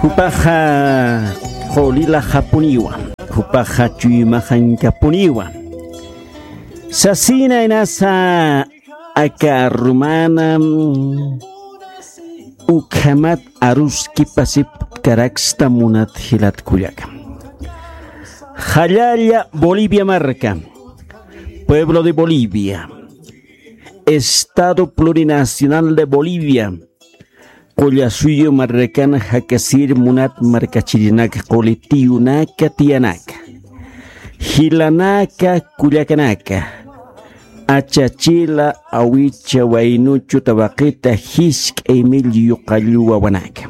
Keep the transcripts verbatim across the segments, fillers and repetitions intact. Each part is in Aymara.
Jupaxa qulilaxapuniwa, jupaxa chuymaxañkapuniwa. Sasina inasa aka arumana ukhamat aruskipasipkaraksta munat jilat kullaka. Jallalla Bolivia marka, pueblo de Bolivia, Estado Plurinacional de Bolivia, Qullasuyu marrakan jakasir munat markachirinaka, quli tiyunaka tiyanaka, jilanaka kullakanaka, achachila awicha waynuchu tawaqita jisk'ay millyu qallu wawanaka.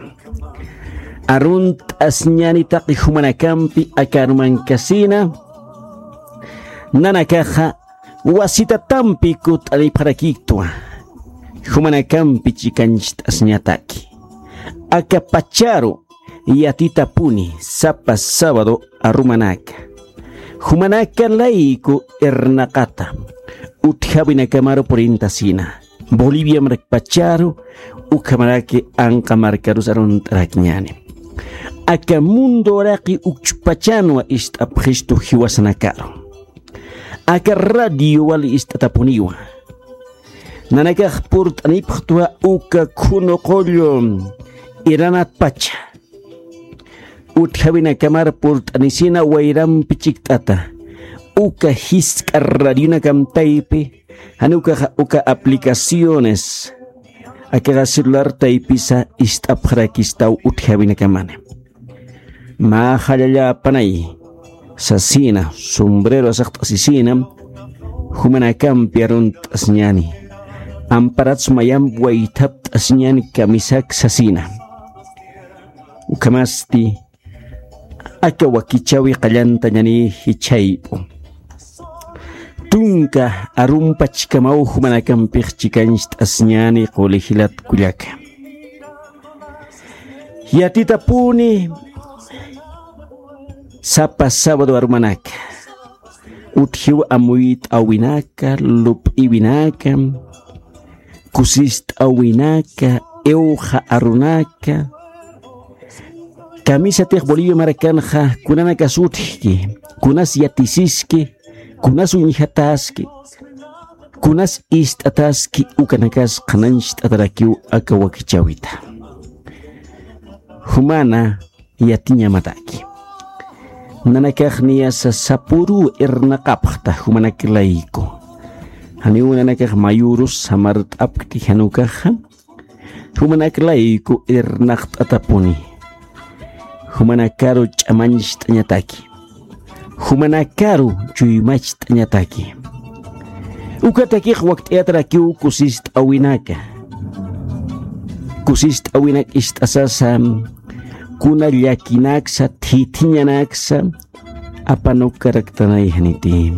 Arunt'asñani taqi jumanakampi aka arumankasina, nanakaxa wasitatampi kut'anipxarakiktwa, jumanakampi chikancht'asñataki. Aka pacharu yatitapuni sapa sábado arumanaka, jumanaka layku irnaqata utjawinakamaru purintasina. Bolivia markpacharu ukhamaraki anqa markarus arunt'arakñani. Aka mundo uraqi ukchpachanwa ist'apxistu jiwasanakaru. Aka radio wali ist'atapuniwa. Nanakax purt'anipxtwa uka khunu qullu iranatpacha. Utjawinakamar purt'anisina wayrampi chikt'ata. Uka jisk'a radionakam taypi, jan ukaxa uka aplicaciones, akaxa celular taypisa ist'apxarakistaw utjawinakamani. Mä jallalla apanay sasina, sombrero asaqt'asisina, jumanakampi arunt'asñani. Amparats mayamp waythapt'asñani kamisak sasina. Ukhamasti aka wakichawi qallantañani jichhayp'u. Tunka arumpachkamaw jumanakampix chikancht'asñani quli jilat kullaka. Yatitapuni sapa sábado arumanaka. Utjiw amuyt'awinaka, lup'iwinaka, kusist'awinaka, iwxa arunaka. Kamisatix Bolivia markanxa kunanakas utjki, kunas yatisiski, kunas uñjataski, kunas ist'ataski ukanakas qhanañcht'atarakiw aka wakichäwita. Jumana yatiñamataki. Nanakax niyasa sapüruw irnaqapxta jumanak layku. Janiw nanakax mayürus samart'apkti jan ukaxa. Jumanak layku irnaqt'atapuni. Jumanakaru ch'amañcht'añataki. Jumanakaru chuymacht'añataki. Ukatakix wakt'ayatarakiw kusist'awinaka. Kusist'awinak ist'asasa, kuna llakinaksa, thithiñanaksa, apanukaraktanay janiti.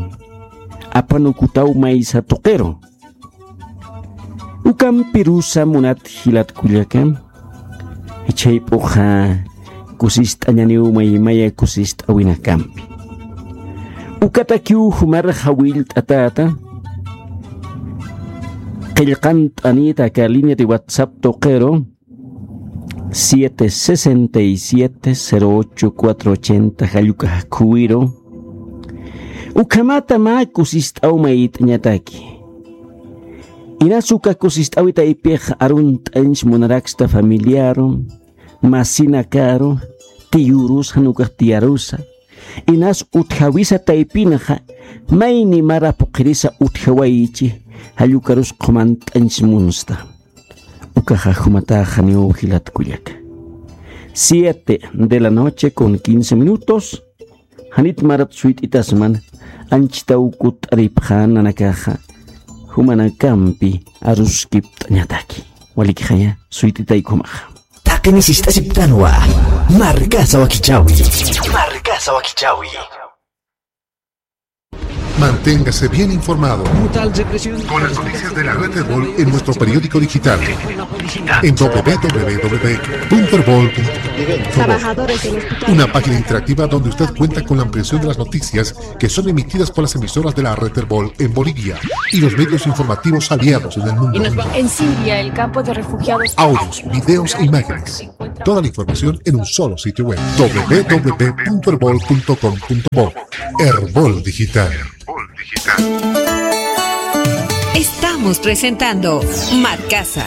Apanukutaw maysa tuqiru. Ukampirusa munat jilat kullaka, jichhayp'uxa kusist'añaniw maymaya kusist'awinakampi. Ukatakiw jumar jawillt'atäta, qillqant'anïta aka línea de WhatsApp tuqiru, siete sesenta y siete, cero ocho, cuatro ochenta, jall ukax khuwiru. Ukhamata mä kusist'aw mayt'añataki. Inas uka kusist'awi taypix arunt'añch munaraksta familiaru, masinakaru, tiyürus jan ukax tiyarusa. Inas utjawisa taypinxa, mayni mara phuqhirisa utjawaychi, jall ukarus qhumant'añch munsta. Ukaxa jumatax janiw jilat kullaka. Siete de la noche con quince minutos. Janit marat suyt'itasman, anchhitaw kutt'aripxä nanakaxa, jumanakampi aruskipt'añataki. Walikixaya, suyt'itay ukhumaxa. Taqini sist'asiptanwa. Markasa wakichawi. Markasa wakichawi. Manténgase bien informado con las noticias de la Red Erbol en nuestro periódico digital en w w w punto erbol punto com. Una página interactiva donde usted cuenta con la ampliación de las noticias que son emitidas por las emisoras de la Red Erbol en Bolivia y los medios informativos aliados en el mundo. En Siria, el campo de refugiados. Audios, videos e imágenes. Toda la información en un solo sitio web, w w w punto erbol punto com punto bo. Erbol Digital. Estamos presentando Marcasa.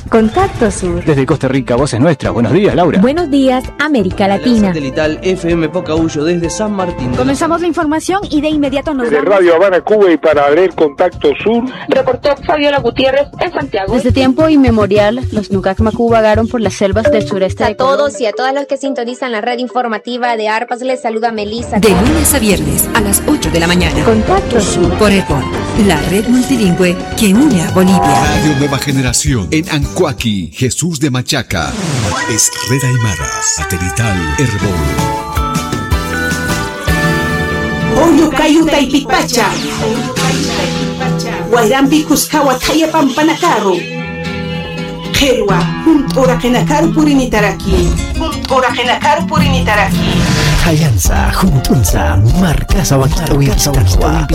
Contacto Sur. Desde Costa Rica, voces nuestras. Buenos días, Laura. Buenos días, América Latina. Satelital F M Pocahullo desde San Martín. Comenzamos la información y de inmediato nos De vamos. Radio Habana, Cuba, y para abrir Contacto Sur. Reportó Fabiola Gutiérrez en Santiago. Desde tiempo inmemorial, los Nukak Maku vagaron por las selvas del sureste de Colombia. A todos y a todas los que sintonizan la red informativa de Arpas, les saluda Melissa. De lunes a viernes a las ocho de la mañana. Contacto Sur. Por Erbol, la red multilingüe que une a Bolivia. Radio Nueva Generación en Ancoaqui, Jesús de Machaca. Es Red Aymara, satelital Erbol. Julio Cayo Taipipacha. Wayrampi Cuscawa Thaya Pampanakaru. Qhilwa, junt'uraqinakaru purinitaraki. Junt'uraqinakaru purinitaraki. Thayansa, junt'unsa, Marcasa wakit'awi pistanwa.